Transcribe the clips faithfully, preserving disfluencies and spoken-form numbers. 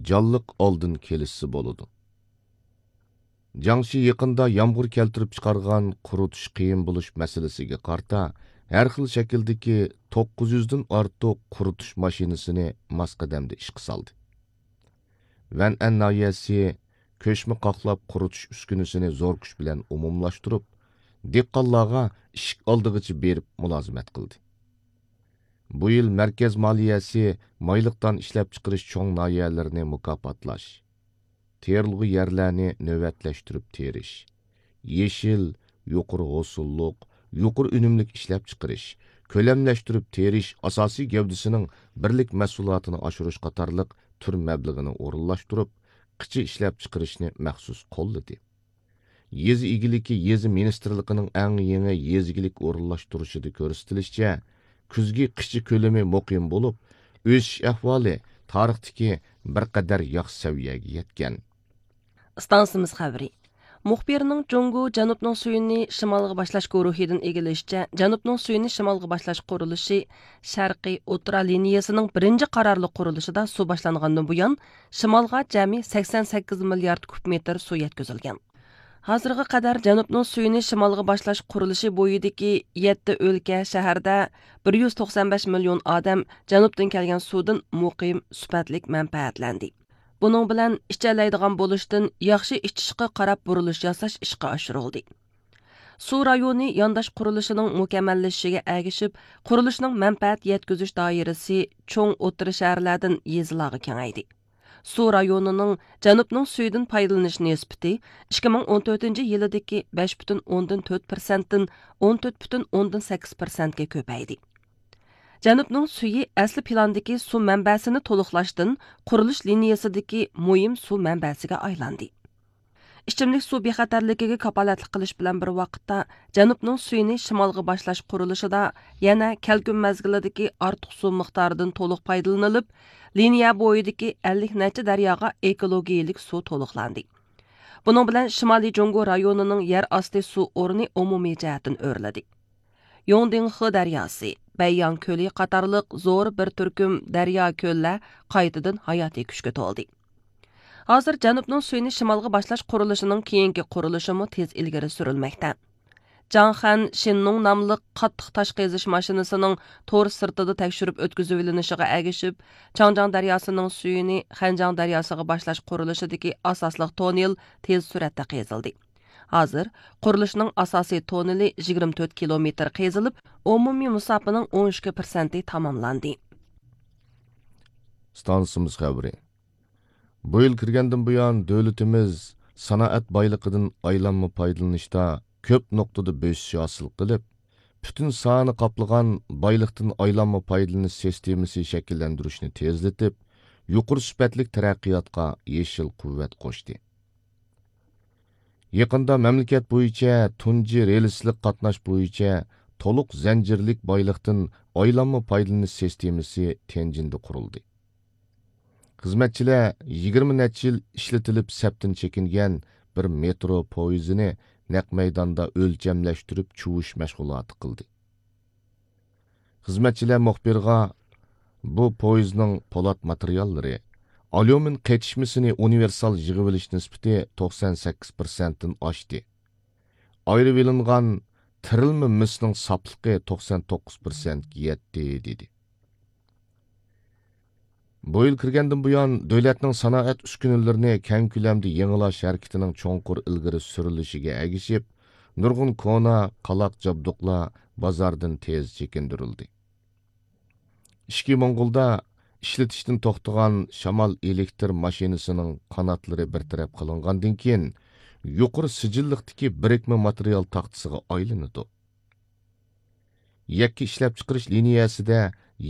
جانلىق ئالدىن كېلىشسە بولىدۇ. جياڭشى يېقىندا يامغۇر كەلتۈرۈپ چىقارغان قۇرۇتۇش قىيىن بولۇش مەسىلىسىگە قارىتا، ھەر خىل شەكىلدىكى توققۇز يۈزدىن ئارتۇق قۇرۇتۇش ماشىنىسىنى ماس قەدەمدە ئىشقا سالدى. ۋەنئەن ناھىيەسى كۆچمە قاقلاپ قۇرۇتۇش ئۈسكۈنىسىنى زور كۈچ بىلەن ئومۇملاشتۇرۇپ، دېھقانلارغا ئىشىك ئالدىغىچە بېرىپ مۇلازىمەت قىلدى. بۇ يىل مەركەز مالىيەسى مايلىق دان ئىشلەپچىقىرىش چوڭ ناھىيەلىرىنى مۇكاپاتلاش، تېرىلغۇ يەرلەرنى نۆۋەتلەشتۈرۈپ تېرىش، يېشىل، يۇقىرى ھوسۇللۇق، يۇقىرى ئۈنۈملۈك ئىشلەپچىقىرىش، كۆلەملەشتۈرۈپ تېرىش ئاساسىي گەۋدىسىنىڭ بىرلىك مەھسۇلاتىنى ئاشۇرۇش قاتارلىق تۈر مەبلىغىنى ئورۇنلاشتۇرۇپ، قىچا ئىشلەپچىقىرىشنى مەخسۇس قوللىدى. يېزا ئىگىلىكى يېزا مىنىستىرلىقىنىڭ ئەڭ يېڭى يېزا ئىگىلىك ئورۇنلاشتۇرۇشىدا كۆرسىتىلىشىچە، كۈزگى قىچا كۆلىمى مۇقىم بولۇپ، ئۆسۈش ئەھۋالى تارىختىكى بىر قەدەر ياخشى سەۋىيەگە يەتكەن. ئىستانسىمىز خەۋىرى. مۇخبىرنىڭ جۇڭگو جەنۇبنىڭ سۈيىنى شىمالغا باشلاش گۇرۇھىدىن ئىگىلىشىچە، جەنۇبنىڭ سۈيىنى شىمالغا باشلاش قۇرۇلۇشى شەرقىي ئوتتۇرا لىنىيەسىنىڭ بىرىنچى قارارلىق قۇرۇلۇشىدا سۇ باشلانغاندىن بۇيان، شىمالغا جەمئىي سەكسەن سەككىز مىليارد كۇب مېتىر سۇ يەتكۈزۈلگەن. ھازىرغا قەدەر جەنۇبنىڭ سۈيىنى شىمالغا باشلاش قۇرۇلۇشى بويىدىكى يەتتە ئۆلكە، شەھەردە بىر يۈز توقسان بەش مىليون ئادەم جەنۇبتىن كەلگەن سۇدىن مۇقىم، سۈپەتلىك مەنپەئەتلەندى. بۇنىڭ بىلەن ئىچەلەيدىغان بولۇشتىن ياخشى ئىچىشقا قاراپ بۇرۇلۇش ياساش ئىشقا ئاشۇرۇلدى. سۇ رايونى يانداش قۇرۇلۇشىنىڭ مۇكەممەللىشىشىگە ئەگىشىپ، قۇرۇلۇشنىڭ مەنپەئەت يەتكۈزۈش دائىرىسى چوڭ ئوتتۇرا شەھەرلەردىن يېزىلارغا كېڭەيدى. سۇ رايونىنىڭ جەنۇبنىڭ سۈيىدىن پايدىلىنىش نىسبىتى ئىككى مىڭ ئون تۆتىنچى يىلىدىكى بەش پۈتۈن ئوندىن تۆت پىرسەنتتىن ئون تۆت پۈتۈن ئوندىن سەككىز پىرسەنتكە كۆپەيدى. جەنۇبنىڭ سۈيى ئەسلى پىلاندىكى سۇ مەنبەسىنى تولۇقلاشتىن قۇرۇلۇش لىنىيەسىدىكى مۇھىم سۇ مەنبەسىگە ئايلاندى. ئىچىملىك سۇ بىخەتەرلىكىگە كاپالەتلىك قىلىش بىلەن بىر ۋاقىتتا، جەنۇبنىڭ سۈيىنى شىمالغا باشلاش قۇرۇلۇشىدا يەنە كەلكۈن مەزگىلىدىكى ئارتۇق سۇ مىقدارىدىن تولۇق پايدىلىنىلىپ، لىنىيە بويىدىكى ئەللىك نەچچە دەرياغا ئېكولوگىيىلىك سۇ تولۇقلاندى. بۇنىڭ بىلەن شىمالىي جۇڭگو رايونىنىڭ يەر ئاستى سۇ ئورنى ئومۇمىي جەھەتتىن ئۆرلىدى. يوڭدىڭخې دەرياسى، بەيياڭ كۆلى قاتارلىق زور بىر تۈركۈم دەريا، كۆللەر قايتىدىن ھاياتىي كۈچكە تولدى. ھازىر جەنۇبنىڭ سۈيىنى شىمالغا باشلاش قۇرۇلۇشىنىڭ كېيىنكى قۇرۇلۇشىمۇ تېز ئىلگىرى سۈرۈلمەكتە. جاڭخەن شىننۇڭ ناملىق قاتتىق تاش قېزىش ماشىنىسىنىڭ تور سىرتىدا تەكشۈرۈپ ئۆتكۈزۈۋېلىنىشىغا ئەگىشىپ، چاڭجياڭ دەرياسىنىڭ سۈيىنى خەنجياڭ دەرياسىغا باشلاش قۇرۇلۇشىدىكى ئاساسلىق توننېل تېز سۈرئەتتە قېزىلدى. ھازىر قۇرۇلۇشنىڭ ئاساسىي توننېلى يىگىرمە تۆت كىلومېتىر قېزىلىپ، ئومۇمىي مۇساپىنىڭ ئون ئىككى پىرسەنتى تاماملاندى. ئىستانسىمىز خەۋىرى. بۇ يىل كىرگەندىن بۇيان، دۆلىتىمىز سانائەت بايلىقىدىن ئايلانما پايدىلىنىشتا كۆپ نۇقتىدا بۆسۈش ھاسىل قىلىپ، پۈتۈن ساھەنى قاپلىغان بايلىقتىن ئايلانما پايدىلىنىش سىستېمىسى شەكىللەندۈرۈشنى تېزلىتىپ، يۇقىرى سۈپەتلىك تەرەققىياتقا يېشىل قۇۋۋەت قوشتى. يېقىندا مەملىكەت بويىچە تۇنجى رېلىسلىق قاتناش بويىچە تولۇق زەنجىرلىك بايلىقتىن ئايلانما پايدىلىنىش سىستېمىسى تيەنجىندە قۇرۇلدى. خىزمەتچىلەر يىگىرمە نەچچە يىل ئىشلىتىلىپ سەپتىن چېكىنگەن بىر مېترو پويىزىنى نەق مەيداندا ئۆلچەملەشتۈرۈپ چۇۋۇش مەشغۇلاتى قىلدى. خىزمەتچىلەر مۇخبىرغا، بۇ پويىزنىڭ پولات ماتېرىياللىرى، ئاليۇمىن قېتىشمىسىنى ئۇنىۋېرسال يىغىۋېلىش نىسبىتى توقسان سەككىز پىرسەنتتىن ئاشتى. ئايرىۋېلىنغان تىرىلما مىسنىڭ ساپلىقى توقسان توققۇز پىرسەنتكە يەتتى، دېدى. بۇ يىل كىرگەندىن بۇيان، دۆلەتنىڭ سانائەت ئۈسكۈنىلىرىنى كەڭ كۆلەمدە يېڭىلاش ھەرىكىتىنىڭ چوڭقۇر ئىلگىرى سۈرۈلۈشىگە ئەگىشىپ، نۇرغۇن كونا، قالاق جابدۇقلار بازاردىن تېز چېكىندۈرۈلدى. ئىچكى موڭغۇلدا ئىشلىتىشتىن توختىغان شامال ئېلېكتر ماشىنىسىنىڭ قاناتلىرى بىر تەرەپ قىلىنغاندىن كېيىن، يۇقىرى سىجىللىقتىكى بىرىكمە ماتېرىيال تاختىسىغا ئايلىنىدۇ. يەككە ئىشلەپچىقىرىش لىنىيەسىدە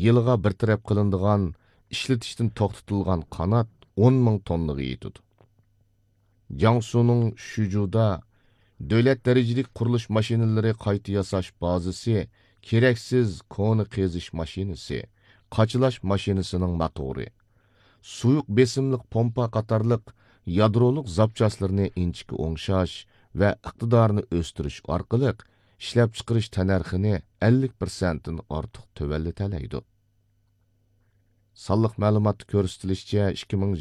يىلىغا بىر تەرەپ قىلىنىدىغان ئىشلىتىشتىن توختىتىلغان قانات ئون مىڭ توننىغا يېتىدۇ. جياڭسۇنىڭ شۈجۇدا دۆلەت دەرىجىلىك قۇرۇلۇش ماشىنىلىرى قايتا ياساش بازىسى، كېرەكسىز كونا قېزىش ماشىنىسى، قاچىلاش ماشىنىسىنىڭ موتورى، سۇيۇق بېسىملىق پومپا قاتارلىق يادرولۇق زاپچاسلىرىنى ئىنچىكە ئوڭشاش ۋە ئىقتىدارىنى ئۆستۈرۈش ئارقىلىق ئىشلەپچىقىرىش تەننەرخىنى ئەللىك پىرسەنتتىن ئارتۇق تۆۋەنلىتەلەيدۇ. سانلىق مەلۇماتتا كۆرسىتىلىشىچە، ئىككى مىڭ